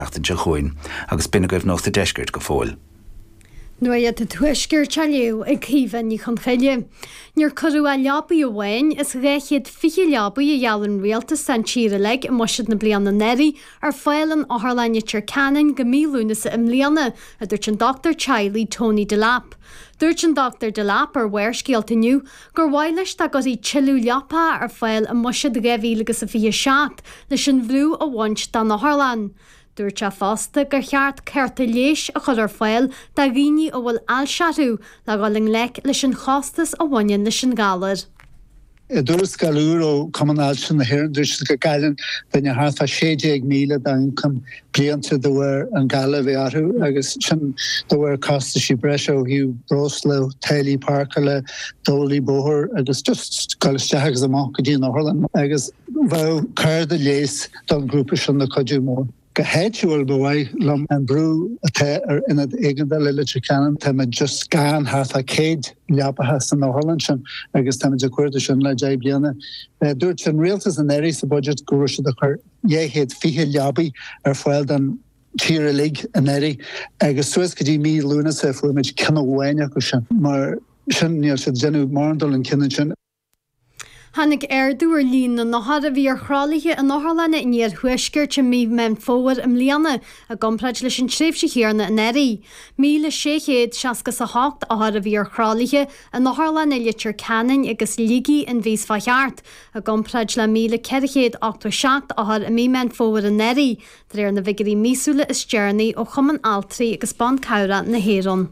Seachtain seo chugainn agus b'in agaibh Nuacht an Deiscirt go fóill. Nuacht an Tuaiscirt á léamh ag Caoimhe Ní Chonchoille. Níor cuireadh ach leabaidh amháin as 220 leabaidh a gheall an Rialtas don tír uilig i mbuiséad na bliana anuraidh ar fáil in Otharlann Leitir Ceanainn go mí Lúnasa i mbliana, a dúirt an dochtúir teaghlaigh Tony Delap. Dúirt an Dr Delap ar Bharrscéalta inniu gur mhaith leis dá gcuirfí tuilleadh leapacha ar fáil i mbuiséad 2027 leis an bhrú a bhaint den otharlann. Dúirt sé fosta gur cheart cárta leighis a chur ar fáil do dhaoine a bhfuil ailse orthu le dhul i ngleic leis an chostas a bhaineann leis an ghalar. I dtuarascáil úr ó Chumann Ailse na hÉireann, dúirt siad go gcailleann duine thart fá 16,000 dá ioncam bliantúil de bharr an galar a bheith orthu agus sin de bharr costaisí breise ó thaobh breosla, táillí páirceála, táillí bóthair agus just dul isteach agus amach go dtí an otharlann agus bheadh cárta leighis don ghrúpa sin ina chuidiú mór. Go háitiúil, ba mhaith liom an brú atá ar Ionad Éigeandála Leitir Ceanainn, táimid just gann thart fá 100 leapacha san otharlann sin agus táimid ag cuartú sin le 10 bliana. Dúirt an rialtas anuraidh sa budget go raibh siad ag cur 220 leabaí ar fáil don tír uilig anuraidh agus suas go dtí mí Lúnasa fuair muid ceann amháin acu sin. Mar sin níl siad ag déanamh mórán dul chun cinn ansin. Tháinig ardú ar líon na n-othar a bhí ar thralaithe in otharlanna an iarthuaiscirt i mí Mheán Fómhair i mbliana i gcomparáid leis an tréimhse chéanna anuraidh. 1,668 othar a bhí ar thralaithe in otharlanna Leitir Ceanainn agus Shligigh an mhí seo thart, i gcomparáid le 1,487 othar i mí Meán Fómhair anuraidh, de réir na bhfigiúirí míosúla is deireanaí ó Chumann Altraí agus Ban Cabhrach na hÉireann.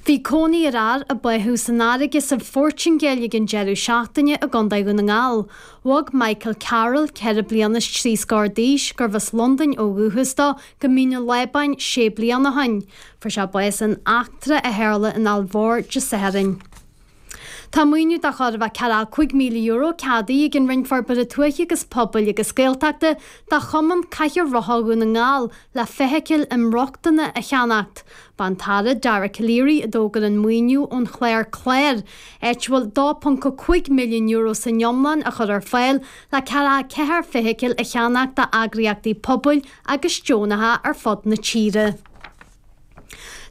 Bhí cónaí ar fhear a báthadh san fharraige sa Phortaingéil ag an deireadh seachtaine i gContae Dhún na nGall. Bhog Michael Carroll, 4 bliana is 3 scór d'aois, gurbh as Londain ó dhúchas dó, go Mín an Lábáin sé bliana ó shin. Fuair sé bás in eachtra a tharla in Aill Mhór Dé Sathairn. Tá maoiniú de chóir a bheith €45,000 ceadaithe ag an Roinn Forbartha Tuaithe agus Pobail agus Gaeltachta do Chumann Cathaoir Rotha Dhún na nGall le feithicil inrochtana a cheannacht. B'é an tAire Dara Calleary a d'fhógair an maoiniú ón chlár Clár, áit a bhfuil €2.5 milliún san iomlán á chur ar fáil le 44 feithicil a cheannacht d'eagraíochtaí pobail agus deonacha ar fud na tíre.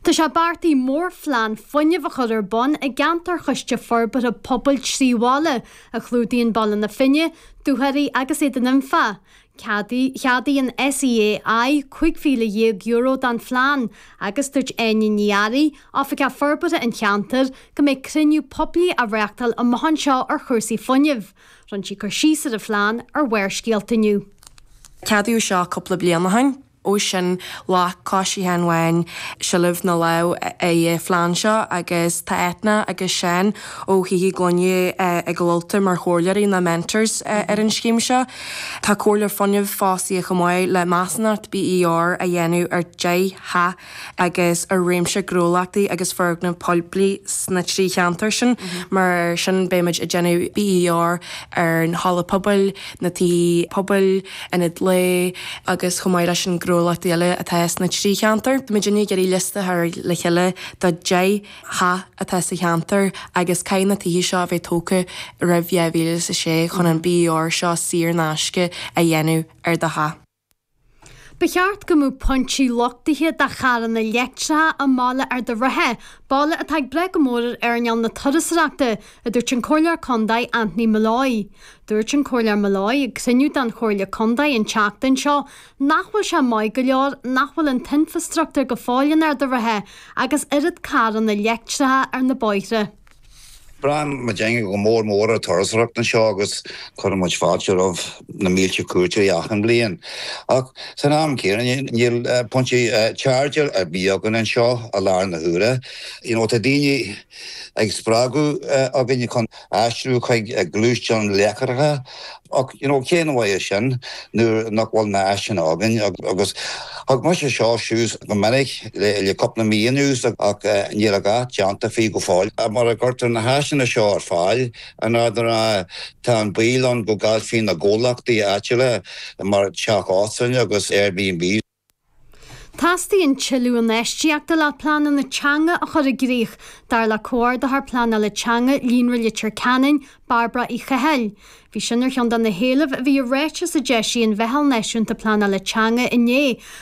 Tá sé beartaithe mórphlean fuinnimh a chur ar bun i gceantar Choiste Forbartha Pobail 3 Bhaile, a chlúdaíonn Baile na Finne, Dúchoraidh agus Éadan Anfa. Cheadaigh an SEAI €15,000 don phlean agus dúirt Áine Ní Fhearraigh, Oifigeach Forbartha an cheantair, go mbeidh cruinniú poiblí á reáchtáil amach anseo ar chúrsaí fuinnimh. Rinne sí cur síos ar an phlean ar Bharrscéalta inniu. Ceadaíodh seo cúpla bliain ó shin. Ó sin, ghlac Coiste Sheáin Bháin seilbh na lámh ar an phlean seo agus tá Eithne agus Seán ó Thithe Gloine ag Ultaigh mar chomhairleoirí nó mentors ar an scéim seo. Tá Comhairleoir Fuinnimh fostaithe chomh maith le measúnacht BER a dhéanamh ar 10 theach agus ar réimse gnólachtaí agus foirgneamh poiblí sna 3 cheantar sin. Mar sin beimid ag déanamh BER ar an halla pobail, na tithe pobail, ionad lae agus chomh maith leis an gnólachtaí eile atá sna 3 cheantar. Tá muidinne ag iarraidh liosta a chur le chéile de 10 theach atá sa cheantar agus caithfidh na tithe seo a bheith tógtha roimh 2006 chun an BER seo saor in aisce a dhéanamh ar do theach. Ba cheart go mbeadh pointí luchtaithe do charranna leictreacha i mbaile Ard an Rátha, baile atá ag brath go mór ar earnáil na turasóireachta, a dúirt an Comhairleoir Contae Anthony Molloy. Dúirt an Comhairleoir Molloy ag cruinniú den Chomhairle Contae an tseachtain seo nach bhfuil sé maith go leor nach bhfuil an t-infreastruchtúr go fóill in Ard an Rátha agus oiread carranna leictreacha ar na bóithre. Braitheann muidinne go mór mór ar turasóireacht anseo agus cuireann muid fáilte roimh na mílte cuairteoirí achan bhliain. Ach san am céanna níl pointí charge ar bith againn anseo i láthair na huaire. You know tá daoine ag spreagadh againn chun aistriú chuig gluaisteáin leictreacha ach you know cén mhaith é sin nuair nach bhfuil na áiseanna againn agus thug mise seo suas go minic le cúpla mí anuas ach níl a dhath déanta faoi go fóill. Mura gcuirtear na háiseanna seo ar fáil in Ard an Rátha tá an baol ann go gcaillfí na gnólachtaí áitiúla mar teach óstáin agus Airbnb. Teastaíonn tuilleadh infheistíochta le pleananna teanga a chur i gcrích, dar le Comhordaitheoir Pleanála Teanga Líonra Leitir Ceanainn, Bairbre Uí Chathail. Bhí sin ar cheann de na héilimh a bhí i ráiteas a d'eisigh an Mheitheal Náisiúnta Pleanála Teanga inné.